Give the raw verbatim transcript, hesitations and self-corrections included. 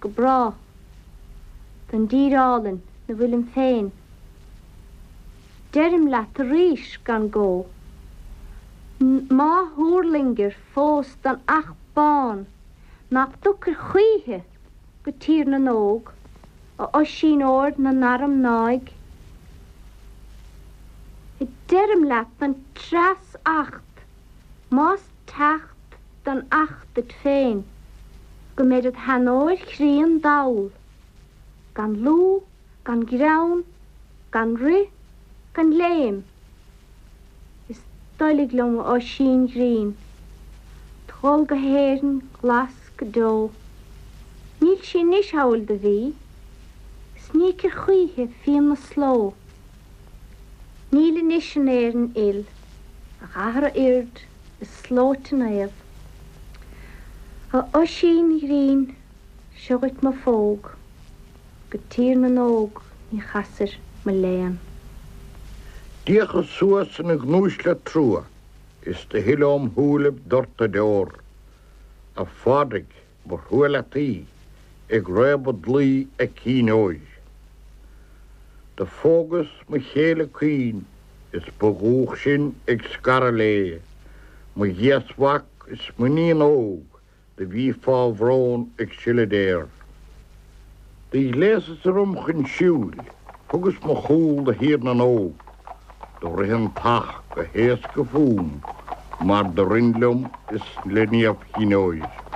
go brách don dtír álainn 'na bhfuilim féin. Deirim leat arís gan gó, má thuirlingir fós don each bán nach dtiocfair choíche go Tír na nÓg, a Oisín óir na n-arm náidh. Deirim leat don treas acht, más teacht don each duit féin, go mbeid id sheanóir chríon dall, gan lúth, gan greann, gan rith, gan léim. Is doiligh liom a Oisín ghrinn, dhul go hÉirinn ghlas go deo. Níl sí anois amhail do bhí, 's ní íocfair choíche fíon na sló. Níl anois in Éirinn fhil ach eathra oird is slóite naomh. A Oisín ghrinn, seo dhuit mo phóg, go Tír na nÓg ní chasfair mo léan. D'fhéachas suas ina gnúis le trua is do shil óm shúilibh doirteadh deor. A Phádraig, ba thrua leat í ag réabadh dlaoi a cinn óir. Do phógas mo chéile caoin is ba dhúch sinn ag scaradh léi, mo ghéasmhac is m'iníon óg do bhí fá bhrón ag sileadh deor. Do ghléasas orm chun siúil, thugas mo chúl do Thír na nÓg, do rith an t-each go héasca fúm mar do rinn liom is le Niamh Chinn Óir.